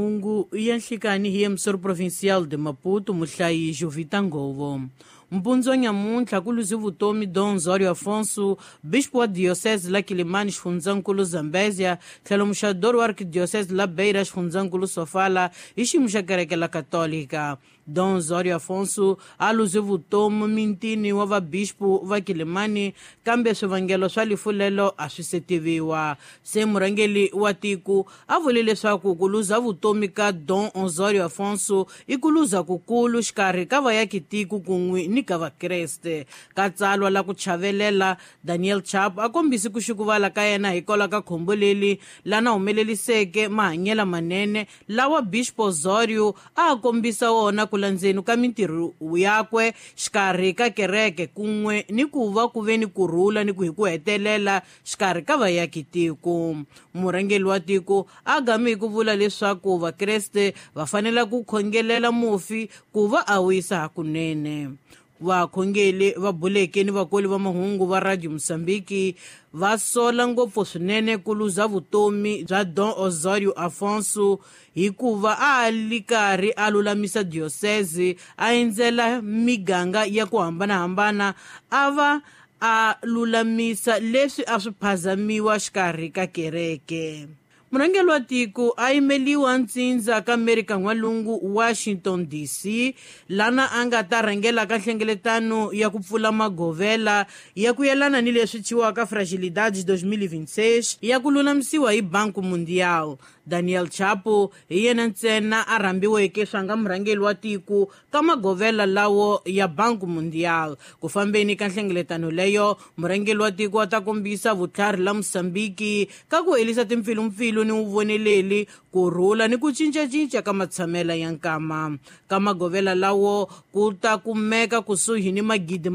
Mahungu ya nhlikani hi emissor provincial de Maputo, muhlayi Jovita Ngovo. Mpundzu wa nyamuntlha ku luze vutomi Dom Osório Afonso, bispo wa diocese la Quilimane, xifundzankulu Zambézia, tlhelo muxadori wa arquidiocese la Beira, xifundzankulu Sofala, hi xiyimo xa kereke la Katolika. Dom Osório Afonso a luze vutomi mintini wa vabispo va Quilimane, kambe swivangelo swa lifu lelo a swi se tiviwa. Se murhangeri wa tiko a vule leswaku ku luza vutomi ka Dom Osório Afonso i ku luza kukulu xikarhi ka vayakitiko kun'we ni ka vakreste. Ka tsalwa la ku chavelela, Daniel Chapo a kombise ku xukuvala ka yena hikwalaho ka khombo leri lana humeleliseke mahanyelo manene lawa Bispo Osório a kombisa wona ku landzeni ka mintirho yakwe xikarhi ka kereke kun'we ni ku va ku ve ni kurhula ni ku hi ku hetelela xikarhi ka vayakitiko. Murhangeri wa tiko a game hi ku vula leswaku vakreste va fanele ku khongelela mufi ku va a wisa hakunene. Vakhongeli va buleke ni vakoli va mahungu va Radio Mozambique va sola ngopfu swinene ku luza vutomi bya Dom Osório Afonso hikuva a li karhi a lulamisa diocese, a endzela miganga ya ku hambanahambana, a va a lulamisa leswi a swi phazamiwa xikarhi ka kereke. Murhangeri wa tiko a yimeliwa ntsindza ka Amerika N'walungu, Washington DC, lana a nga ta rhangela ka nhlengeletano ya ku pfula magovela ya ku yelana ni leswi thyiwaka Fragilidade 2026 ya ku lulamisiwa hi Banco Mundial. Daniel Chapo hi yena ntsena a rhambiweke swa nga murhangeri wa tiko ka magovela lawo ya Banco Mundial. Ku fambeni ka nhlengeletano leyo, murhangeri wa tiko a ta kombisa vutlhari la Mozambique ka ku herisa timpfilumpfilu ni vuvoneleli, ku rhula ni ku cincacinca ka matshamela ya nkama. Ka magovela lawo ku ta kumeka kusuhi ni magidi